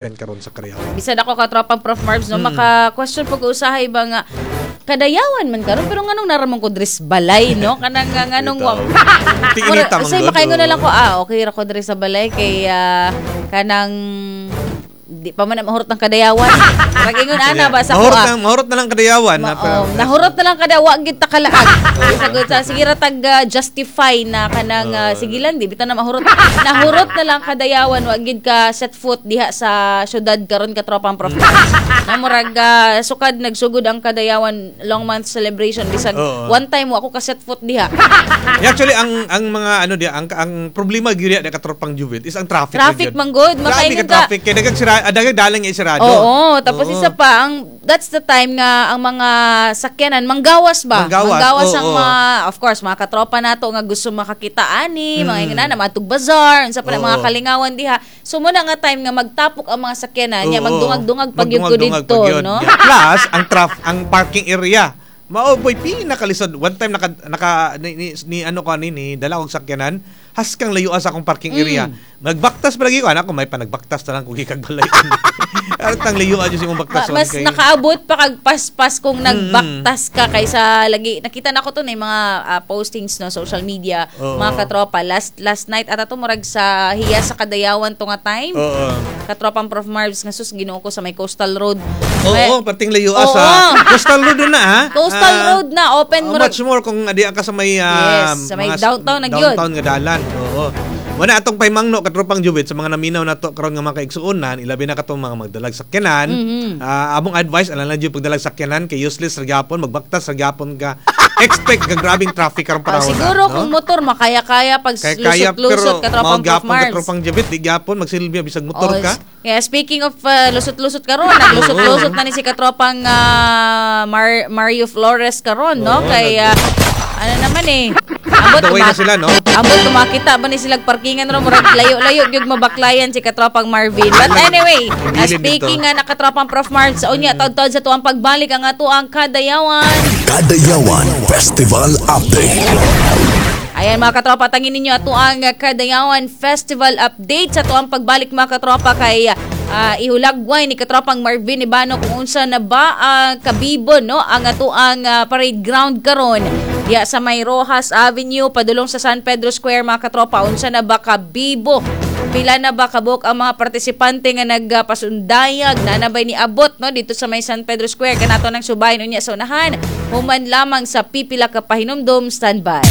Karon sa Kadayawan. Bisan ako, katropang Prof Marbs, no, maka-question po ko usahay ba nga kadayawan man karon, pero nganong naramon ko diri sa balay, no? Kanang nga nganong wa Tinginita man Say gud, makaingon na oo. lang ko, ah, okay ra ko diri sa balay kay kanang di pa man na mahurot ang kadayawan. Nag-ingon ana ba sa Mahurot kuha. na, mahurot na lang kadayawan na, Oh, nahurot na lang kada wa gid ta kalaag. Sagot sa sige ra tag justify na kanang sige lang, di bitan na mahurot. Nahurot na lang kadayawan, wa gid ka set foot diha sa syudad karon, katropang Prof. Na murag sukad nagsugod ang Kadayawan long month celebration, bisag one time wa ko ka set foot diha. Yeah, actually, ang mga ano di ang problema gyud di katropang Juvit is ang traffic. Traffic gyud. man gud, Grabe makaingon ka ka. Traffic kay daghang sira, daghang dalan nga isirado. Oo, tapos isa pa, ang that's the time nga ang mga sakyanan manggawas ba? Manggawas, ang oo. mga, of course, mga katropa nato nga gusto makakita ani, mga ingana na matug bazaar, unsa pa na mga kalingawan diha. So muna nga time nga magtapok ang mga sakyanan, nya magdungag-dungag pag yun ko Magdungag-dungag didto, pag yun. no? Yeah. Plus ang parking area. Mao boy pinakalisod. One time naka naka ni ano ko ani ni dala og sakyanan, haskang layuan sa akong parking area. Nagbaktas pa lagi ko anak ko, may panagbaktas na lang kung gikag balay. Aron tang layuan jud imong baktas. Mas nakaabot pa kag paspas kung nagbaktas ka kaysa lagi nakita na ko to na yung mga postings no, social media, mga katropa, last last night at ato murag sa hiya sa Kadayawan to nga time, katropang Prof Marbs, nga sus, Ginoo ko, sa may coastal road. Oo, parting layuan sa Coastal Road na ha. Coastal Road na open Oh, murag much more kung adi ka sa may Yes, sa may mga downtown na gyud. downtown nga dalan. Oo. Wala atong paimangno, katropang Jubit, sa mga naminaw nato karon nga mga kaigsuonan, ilabi na katong mga magdalag sakyanan. Among advice alang lang jud pagdalag sakyanan kay useless ra gyapon, magbaktas ra gyapon ka. Expect ka grabing traffic karong panahon. Siguro no? kung motor makaya-kaya pag Kaya kaya lusot-lusot, pero katropang mao Prof gyapon Marbs. katropang Jubit, di gyapon magsilbi bisag motor Oh, ka. Yeah, speaking of lusot-lusot karon, naglusot-lusot na ni si katropang Mario Flores karon, no? Oo, Kay ano naman eh. Ambot Daway na sila, no? Ambot tumakita ba ni sila parkingan ro, murag layo-layo gyud mabaklayan si katropang Marvin. But anyway, Bilin speaking dito. nga nakatropang Prof Marbs, unya taud-taud sa tuang pagbalik ang ato ang Kadayawan. Kadayawan Festival Update. Ayan, mga katropa, tangin ninyo ato ang Kadayawan Festival update sa tuang pagbalik, mga katropa, kay ihulagway ni katropang Marvin Ibano kung unsa na ba ang kabibo, no, ang ato ang parade ground karon diya sa may Rojas Avenue padulong sa San Pedro Square, mga katropa. Unsa na ba kabibo? Pila na ba kabuk ang mga partisipante nga nagpasundayag na nabay ni abot, no, dito sa may San Pedro Square kanato ng subahin unya sa unahan human lamang sa pipila ka pahinumdom. Standby.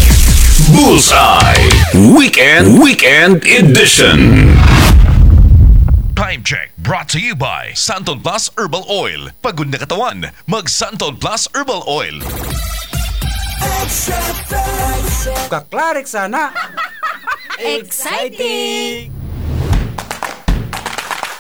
Bullseye Weekend Weekend Edition. Time check brought to you by Santon Plus Herbal Oil. Pagod na katawan, mag Santon Plus Herbal Oil. Kaklarik sana. Exciting!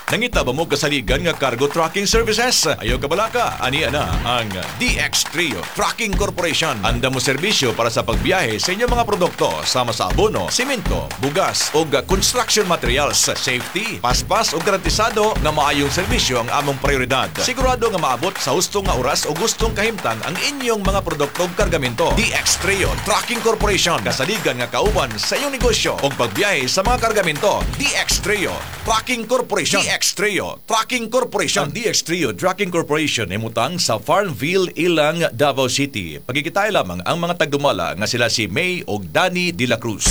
Nangita ba mo kasaligan nga cargo trucking services? Ayaw kabalaka, ani na ang DX Trio Trucking Corporation. Anda mo serbisyo para sa pagbiyahe sa inyong mga produkto sama sa abono, simento, bugas o construction materials. Safety, paspas o garantisado nga maayong serbisyo ang among prioridad. Sigurado nga maabot sa husto nga oras o gustong kahimtang ang inyong mga produkto ug kargamento. DX Trio Trucking Corporation. Kasaligan nga kauban sa inyong negosyo o pagbiyahe sa mga kargamento. DX Trio Trucking Corporation. DX Trio Trucking Corporation. Ang DX Trio Trucking Corporation imutang sa Farmville, Ilang, Davao City. Pagkikitay lamang ang mga tagdumala nga sila si May og Danny De La Cruz.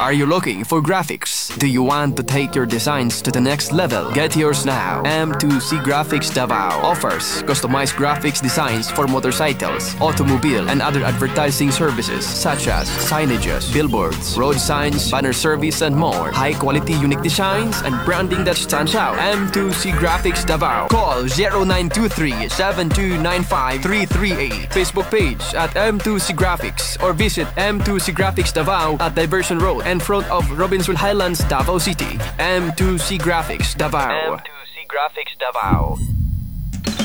Are you looking for graphics? Do you want to take your designs to the next level? Get yours now. M2C Graphics Davao offers customized graphics designs for motorcycles, automobile, and other advertising services such as signages, billboards, road signs, banner service, and more. High quality, unique designs and branding that stands out. M2C Graphics Davao. Call 0923 7295 338. Facebook page at M2C Graphics or visit M2C Graphics Davao at Diversion Road in front of Robinson Highlands, Davao City. M2C Graphics Davao. M2C Graphics Davao.